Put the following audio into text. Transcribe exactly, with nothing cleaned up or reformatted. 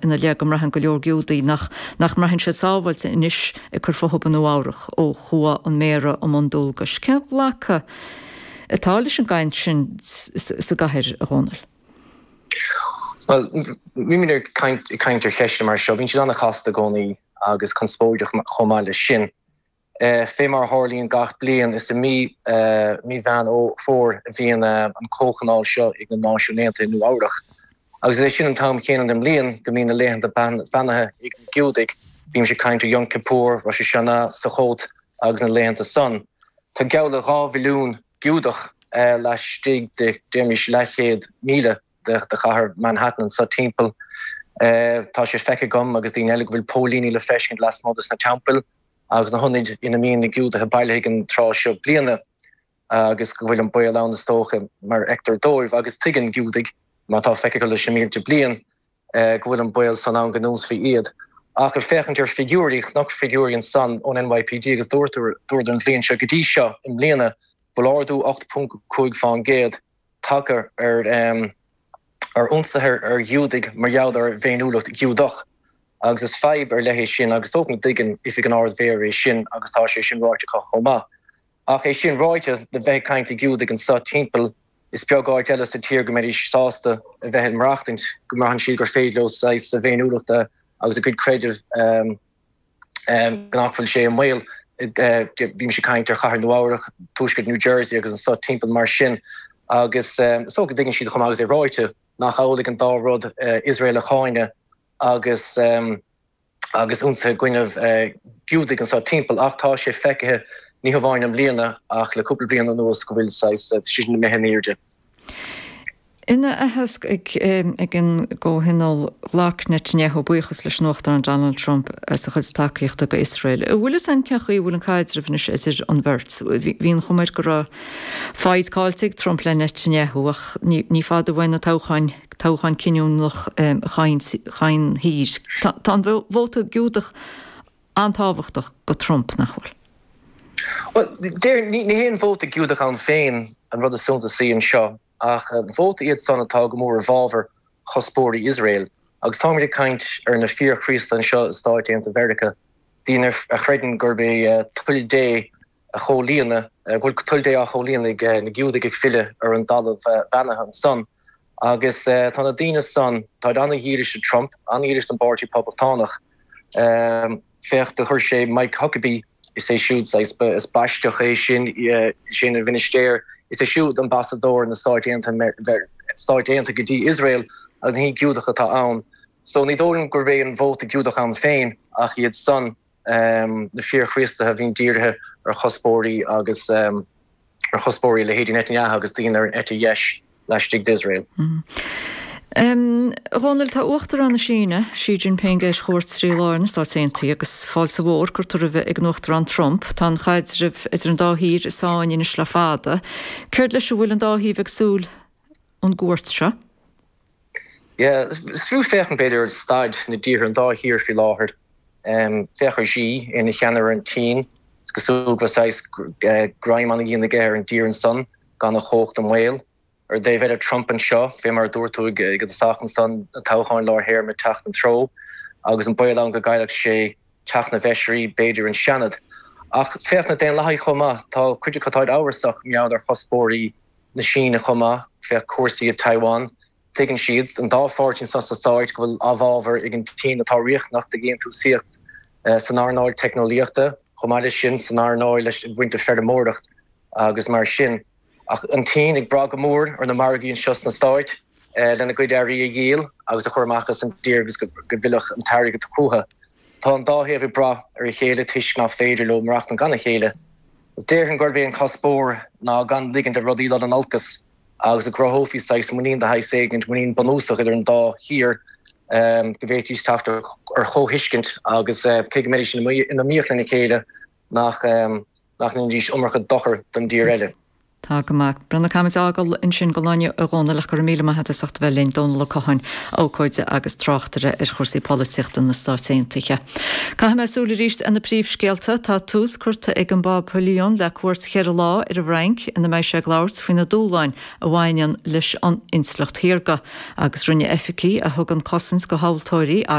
ina leith go mbraitheann go leor Giúdaigh nach nach mbraitheann siad sábháilte anois ag cur fúthu i Nua Eabhrac ó chuaigh an méara i mbun dualgais. Cén glacadh atá leis an gcaint sin sa gcathair, a Dhónaill? Well, bímid ag caint caint ar cheisteanna mar seo, bíonn siad an-chasta i gcónaí agus conspóideach chomh maith leis sin. Fé mar a tharlaíonn gach bliain, is i mí mí Mheán Fómhair a bhíonn an comhthionól seo ag na Náisiúin Aontaithe i Nua Eabhrac. Agus is é sin an t-am céanna den mbliain go mbíonn na laethanta beannaithe ag na Giúdaigh, bímse ag caint ar Yom Kippur, Rosh Hashanah, Sukkot agus na laethanta san. Tá geall le dhá mhilliún Giúdach laistigh de, deirimís, leathchéad míle de chathair Manhattan anso timpeall. Tá sé feicthe agam agus daoine eile go bhfuil póilíní le feiscint lasmuigh de sna teampaill agus na hionaid ina mbíonn na Giúdaithe bailithe ag an tráth seo bliana agus go bhfuil an baol ann is dócha mar a fheictear dóibh agus tuigeann Giúdaigh, mar atá feicthe acu leis na mílte bliain, go bhfuil an baol san ann go n-ionsaí iad. Ach ag féachaint ar figiúirí, chonac figiúirí ansan ón N Y P D agus dúradar an bhliain seo go dtí seo i mbliana go bhfuil ardú ocht ponc cúig fán gcéad tagtha ar ar ionsaithe ar Ghiúdaigh mar gheall ar a bhféiniúlacht Ghiúdach. Agus is fadhb ar leith é sin agus is dócha go dtuigeann Oifig an Ard-Mhéara é sin agus tá sé sin ráite acu chomh maith. Ach é sin ráite, le bheith ag caint le Giúdaigh anso timpeall, is beag áit eile sa tír go mbeidís sásta a bheith ag maireachtaint, go mbraitheann siad gur féidir leo saghas a bhféiniúlachta agus a gcuid creidimh nach bhfuil sé i mbaol. Bímse ag caint ar chathair Nua Eabhrac, tuaisceart New Jersey agus anso timpeall mar sin. Agus is dócha go dtuigeann siad chomh maith agus é ráite nach amhlaidh an dá rud, Iosrael a cháineadh agus agus ionsaithe i gcoinnibh Giúdaigh anso timpeall. Ach tá sé feicthe ní hamháin i mbliana ach le cúpla bliain anuas go bhfuil saghas sin imithe in airde. Ina aitheasc ag an gcomhthionól, ghlac Netanyahu buíochas leis an Uachtarán Donald Trump as a chuid tacaíochta go Iosrael. An bhfuil fhios a'inn cén chaoi a bhfuil an caidreamh anois idir an bheirt? Bhí an chuma air go raibh foighid caillte ag Trump le Netanyahu ach ní fada uainn na toghcháin, toghchán cinniúnach chaon thír. Tá an vóta Giúdach an-tábhachtach go Trump, nach bhfuil? Bhuel, deir, ní hé an vóta Giúdach ann féin an rud is suntasaí anseo, ach vóta iad san atá go mór i bhfabhar chuspóirí Iosrael. Agus táimid ag caint ar na fíor-Chríostaithe anseo i Stáit Aontaithe Mheiriceá, daoine a chreideann gurb é toil Dé a chomhlíonadh, go bhfuil toil Dé á chomhlíonadh ag na Giúdaigh ag filleadh ar an dtalamh bheannaithe ansan. Agus tá na daoine san, táid an-dhílis do Trump, an-dhílis don bPáirtí Poblachtánach. Féach, do chuir sé Mike Huckabee, is é siúd saghas, is Baisteach é sin, is é ina mhinistéir, is é siúd ambasadóir na Stáit Aontaithe, Stáit Aontaithe go dtí Iosrael agus ní Giúdach atá ann. So ní dóigh liom gurb é an vóta Giúdach ann féin ach iad san, na fíor-Chríostaithe a bhíonn dírithe ar chuspóirí agus ar chuspóirí leithéidí Netanyahu agus daoine ar an eite dheis laistigh d'Iosrael. A Dhónaill, tá Uachtarán na Síne, Xi Jinping, ar chuairt trí lá ar na Stáit Aontaithe agus fáilte mhór curtha roimhe ag an Uachtarán Trump. Tá an chaidreamh idir an dá thír i sáinn anois le fada. Céard leis a bhfuil an dá thaobh ag súil ón gcuairt seo? Yeah, is fiú féachaint b'fhéidir ar staid na dtíortha, an dá thír faoi láthair. Féach ar Xi ina cheannaire ar an tSín. Is cosúil go bhfuil saghas greim an-dhian aige ar an dtír ansan gan a chumhacht i mbaol. Ar an dtaobh eile, Trump anseo, fé mar a dúirt tú ag an dtosach ansan, na toghcháin lár théarma ag teacht an treo agus an baol ann go gcaillfeadh sé Teach na bhFeisirí, b'fhéidir an Seanad. Ach féach na Daonlathaigh chomh maith, tá cuid acu táid amhrasach mar gheall ar chuspóirí na Síne chomh maith, féach cúrsaí i Taiwan. Tuigeann siad, an dá pháirtí anseo sna Stáit, go bhfuil amhábhair ag an tSín atá riachtanach do dhéantúsaíocht san earnáil teicneolaíochta, chomh maith leis sin san earnáil ag baint le feirmeoireacht agus mar sin. Ach an tSín ag brath go mór ar na margaí anseo sna Stáit lena gcuid earraí a dhíol agus a chur amach as an dtír agus go bhfillfeadh an t-airgead chucu. Tá an dá thaobh ag brath ar a chéile toisc nach féidir leo maireachtaint gan a chéile. Déarfainn gurb é an cuspóir ná gan ligint do rudaí dul in olcas agus go gcruthófaí saghas muinín de shaghas éigint, muinín bunúsach idir an dá thír, go bhféadfaidís teacht ar chomhthuiscint agus cé go mbeidís in iomaíocht lena chéile nach nach ndéanfaidís iomarca dochair don dtír eile. Tá go maith. Breandán Caithfimid é a fhágáil ansin don lá inniu a Dhónaill ach go raibh míle maith agat as ucht a bheith linn, Dónal Ó Catháin, abhcóide agus tráchtaire ar chúrsaí polaitíochta na Stáit Aontaithe. Caithfidh mé súil arís ar na príomhscéalta. Tá tús curtha ag an bPápa Leon le cuairt cheithre lá ar an bhFrainc ina mbeidh sé ag labhairt faoi na dúshláin a bhaineann leis an intleacht shaorga agus rinne oifigigh a thugann cosaint do thomhaltóirí